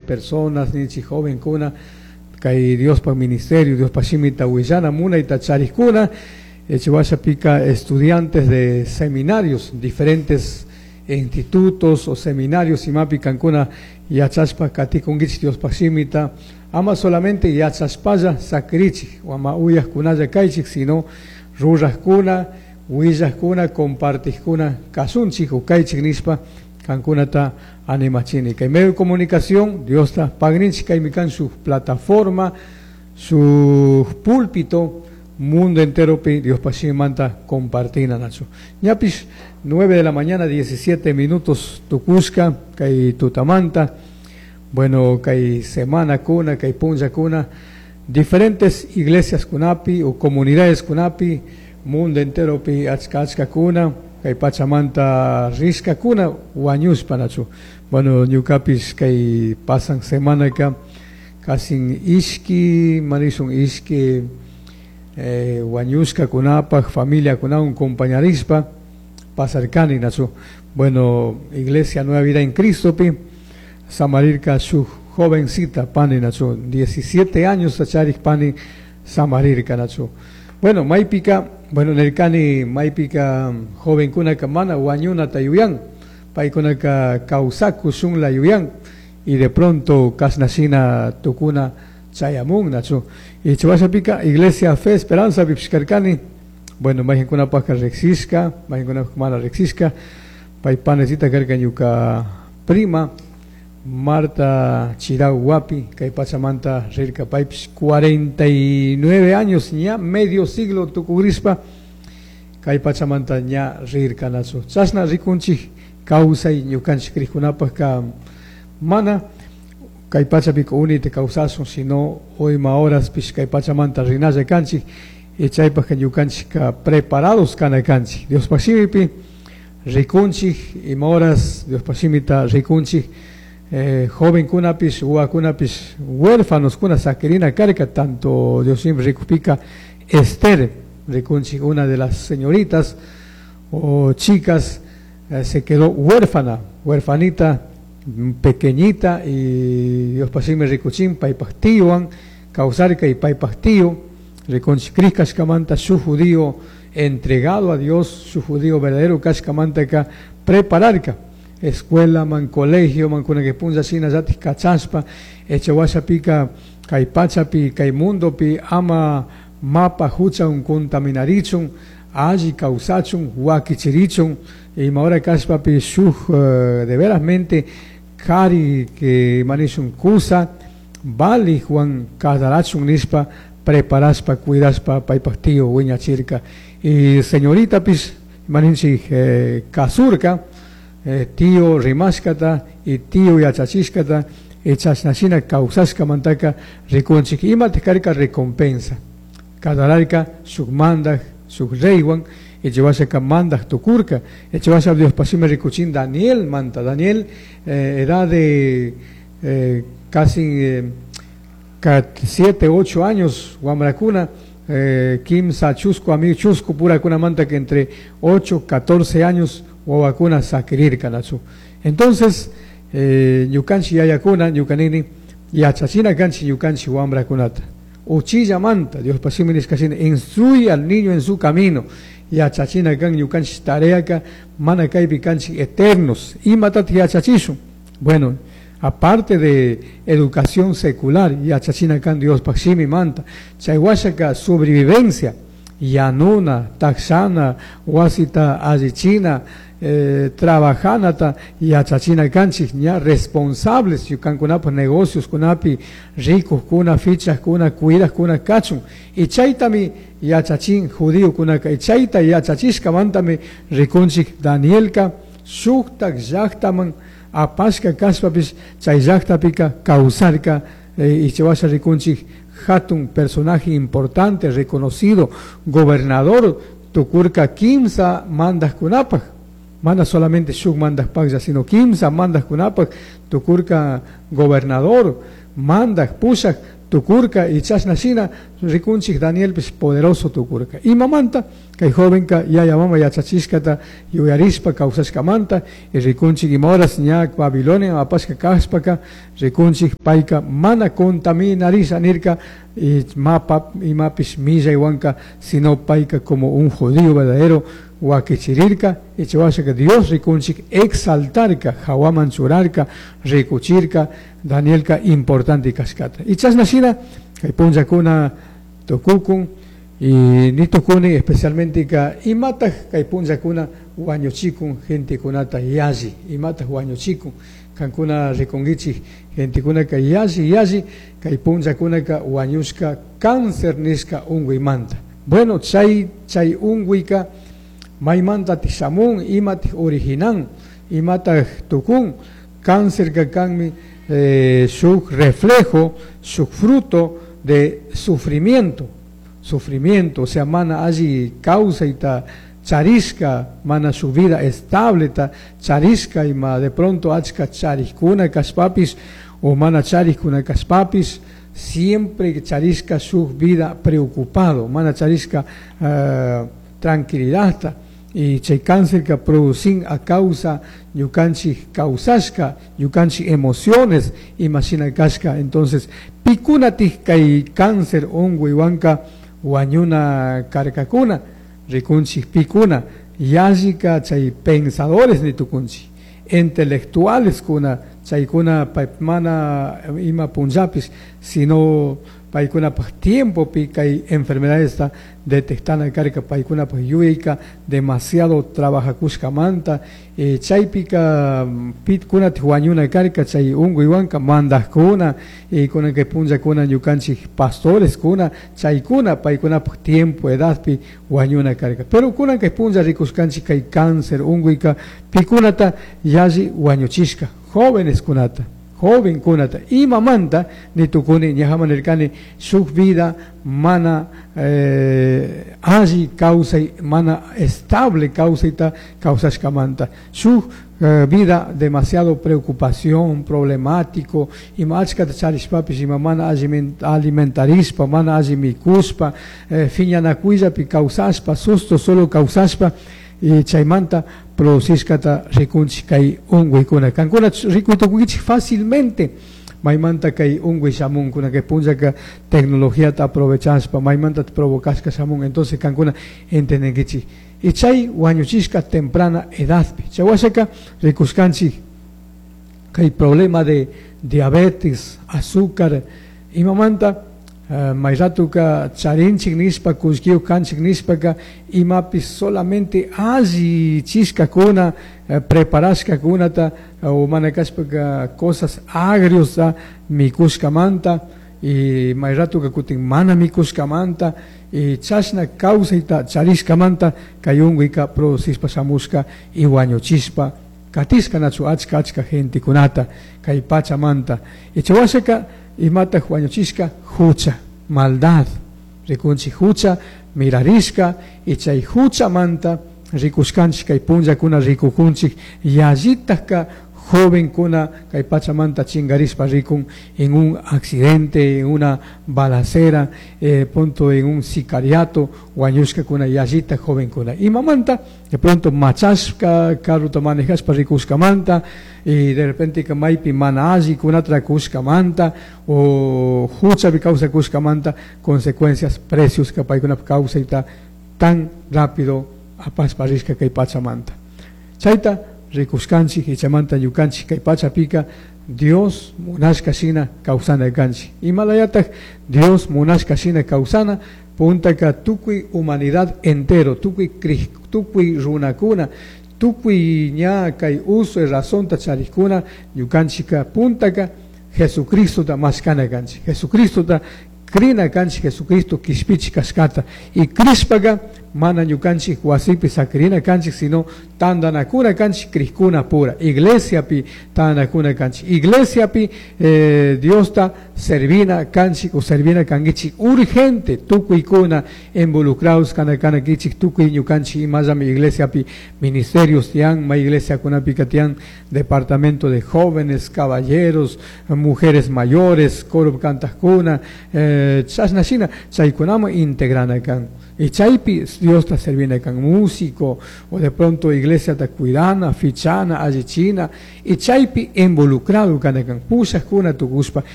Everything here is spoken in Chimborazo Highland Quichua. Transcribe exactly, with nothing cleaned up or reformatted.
Personas ninchik jovenkuna kay Diospaj ministerio, Diospaj shimita willana munayta charikuna, Echewashapika estudiantes de seminarios, diferentes institutos o seminarios imapi kankuna yachashpa katikunkichik Diospaj shimita, ama solamente yachashpalla sakirichik o ama uyajkunalla kaychik, sino rurajkuna, willajkuna, compartijkuna kashunchik o kaychik nishpa kankunata animachini. Kay medio de comunicación, Diosta pagninchik kaymi kan su plataforma, su púlpito, mundo entero pi Diospaj shimimanta compartina nachu. Ñapish nueve de la mañana diecisiete minutos tukushka kay tutamanta, bueno, kay semana kuna, kay punlla kuna, diferentes iglesias kunapi o comunidades kunapi, mundo entero pi achka achka kuna, kay pachamanta rishka kuna wañushpa nachu. Bueno, ñukapish kay pasan semana ka casi ishki, manishun ishki, eh, wañushka kunapaj, familia kunawan compañarispa pasarkani nachu. Bueno, Iglesia Nueva Vida en Cristo pi samarirka su jovencita pani nachu, diecisiete años acharik pani samarirka nachu. Bueno, maypika, bueno, nerkani maypika jovenkunaka mana wañunata yuyan, paykunaka kawsakushunla yuyan, y de pronto kasnashina tukuna chayamun nachu. Y chawashapika Iglesia Fe Esperanza pipishkarkani, bueno, mayqinkunapajka riqsishka, mayqinkunapaj mana riqsishka, pay panecita karka ñuka prima Marta Chirau Wapi, kay pachamanta rirka paypish cuarenta y nueve años ña medio siglo tukurispa kay pachamanta ña rirka nachu. Chashna rikunchik kawsay ñukanchik rikunapajka mana kay pachapika unita kawsasun, sino hoy ma horaspish kay pachamanta rinalla kanchik, y chaypajka ñukanchikka preparados kana kanchik. Diospaj shimipi rikunchik, ima horas Diospaj shimita rikunchik, eh, jovenkunapish, wawakunapish, huérfanos kuna sakirina karka, tanto Dios siempre rikupika Esther, rikunchik, una de las señoritas o chicas, eh, se quedó huérfana, huérfanita, pequeñita, y Dios pasime rikuchin, paypaj tíowan, kawsarka y paypaj tío, rikunchik kashkamanta, su judío entregado a Dios, su judío verdadero kashkamantaka prepararka, escuela man, colegio man, kuna que punza sina yatis kachaspa, echawashapika, kay pachapi, kay mundopi, ama mapa hucha un contaminarichun, alli kawsachun, wakichirichun, y ahora kashpapi shuj, eh, de verasmente kari que manishun kusa, bali Juan kasarachun nishpa, preparaspa, cuidaspa, paypaj tío, wiñachirka. Y señorita pis, maninchik, eh, kasurka, eh, tío rimashkata y tío yachachishkata, echashnashina kawsashka mantaka rikunchik, ima tejkarka recompensa. Kadararka shuk mandaj, shuk reywan, echewashaka mandaj tukurka, echewasha Dios pasime rikuchin Daniel manta, Daniel, eh, edad de, eh, casi, eh, siete, ocho años, wamrakuna, eh, kimsa chusco, amigo chusco, pura kuna manta que entre ocho, catorce años, wawakuna sakirirka nachu. Entonces, eh, ñukanchi yayakuna, ñukanini, yachachina kanchi ñukanchi wamrakunata. Uchilla manta, Dios pasime nishkashina, instruye al niño en su camino. Yachachina kan ñukanchi tareaka, mana kaypi kanchi eternos. Imatat yachachishun. Bueno, aparte de educación secular, yachachina kan Dios pasime manta. Chaywashaka sobrevivencia, yanuna, taxana, wasita allichina, eh, trabajanata, yachachina kanchik, ña responsables, yukankunapaj negocios kunapi, ricos kuna, fichas kuna, cuidas kuna kachun. Y chaytami yachachin judío kunaka, y chayta yachachishka mantami rikunchik Danielka, shuktak llaktaman apashka kashpapis, chay llaktapika kawsarka, eh, y chawasha rikunchik hatun personaje importante, reconocido, gobernador, tukurka kimsa mandas kunapaj. Mana solamente shuk mandas pagya, sino kimsa mandas kunapaj, tukurka gobernador, mandas pushak, tukurka y chashna shina rikunchik Danielpish poderoso tukurka. Imamanta kay jovenka yaya mama yachachishkata yuyarishpa kawsashkamanta y rikunchik ima horas ña Babilonia apashka kashpaka rikunchik payka mana contaminarisha nirka y mapa imapish millaywanka, sino payka como un judío verdadero wakichirirka y chawashaka Dios rikunchik exaltarka, hawaman churarka, rikuchirka Danielka importante kashkata. Y chashna shina kay punllakuna tukukun y nitukuni especialmente ka imataq kay punllakuna wañuchikun gentekunata yalli, imataq wañuchikun kankuna rikunkichik gentekunaka yalli yalli kay punllakunaka wañushka cáncer nishka unkuymanta. Bueno, chay chay unkuyka maymanta shamun, imataq originan, imataq tukun, cáncer ka kanmi eh, shuk reflejo, shuk fruto de sufrimiento, sufrimiento, o sea, mana alli kawsayta charishka, mana su vida estable ta charishka ima de pronto achka charikuna kashpapis o mana charikuna kashpapis, siempre charishka su vida preocupado, mana charishka uh, tranquilidad y chay cáncer que producen a causa ñukanchik kawsashka, ñukanchik emociones imashina kashka. Entonces pikunatik kay cáncer unkuywanka wañuna karkakuna, rikunchik pikuna yallika chay pensadores nitukunchik, intelectuales kuna chaykuna mana ima punllapis, sino paykunapaj tiempopi kay enfermedades detectana karka paykunapaj yuyayka demasiado trabajakushkamanta, eh, chaypika pitkunatik wañuna karka chay unkuywanka mandajkuna y kunan kay punllakuna ñukanchik pastores kuna chaykuna paykunapaj tiempo edadpi wañuna karka. Pero kunan kay punlla rikushkanchik kay cáncer unkuyka pikunata yalli wañuchishka jóvenes kunata, joven kunata, imamanta nitukuni ñajaman nirkani shuk vida mana eh, alli kawsay, mana estable kawsayta kawsashkamanta, shuk eh, vida demasiado preocupación, problemático, ima achkata charishpapish ima mana alimentarishpa, mana alli mikushpa, eh, phiñanakuyllapi kawsashpa, susto solo kawsashpa, y chaymanta producishkata rikunchik kay unkuykuna. Kankuna rikuytukunkichik fácilmente maymanta kay unkuy shamunkuna, kay punllaka tecnologiata aprovechashpa maymanta provocashka shamun, entonces kankuna entendenkichik. Y chay wañuchishka temprana edadpi. Chay washaka rikushkanchik kay problema de diabetes, azúcar, imamanta Uh, mayratuka charinchik nishpa, kullkiyuq kanchik nishpaka imapis solamente alli chishkakuna, uh, preparashkakunata uh, o mana kashpaka cosas agrios mikushkamanta y mayratuka kutin mana mikushkamanta y chashna kawsayta charishkamanta kay unkuyka producishpa shamushka y wañuchishpa katishka nachu achka achka gentekunata kay pachamanta. Y chawashaka imataq wañuchishka hucha, maldad, rikunchik hucha mirarishka y chay huchamanta rikushkanchik kay punllakuna rikukunchik yallitajka jovenkuna kay pachamanta chingarishpa rikun en un accidente, en una balacera, eh, punto en un sicariato wañushkakuna yallita jovenkuna. Imamanta de pronto machashka carrota manejashpa rikushkamanta y de repente que maypi mana alli kunata kushkamanta o huchapi kawsakushkamanta consecuencias, precios que paykunap kawsayta tan rápido apashpa rishka kay pachamanta. Chayta rikushkanchik y chaymanta ñukanchik kay pachapika Dios munashka shina kawsana kanchik. Imalayataj Dios munashka shina kawsana puntaka tukuy humanidad entero, tukuy tukuy runakuna, tukuy ña kay uso y razonta charikuna ñukanchika puntaka Jesucristota mashkana kanchik, Jesucristota krina kanchik, Jesucristo kishpichik kashkata y krishpaka mana ñukanchik wasipi sakirina kanchik, sino tandanakuna kanchik crijkuna pura, iglesiapi tandanakuna kanchik, iglesiapi eh, Diosta servina kanchik o servina kankichik urgente tukuykuna involucrados kana kanakichik tukuy ñukanchik imallami iglesiapi ministerios tiyan, ma iglesiakunapika tiyan departamento de jóvenes, caballeros, mujeres mayores, coro cantajkuna, eh, chashna shina chaykunaman integrana kan y chaypi Diosta servina kan músico o de pronto iglesia ta cuidana, fichana, allichina y chaypi involucrado kana kan pushakuna tukushpa.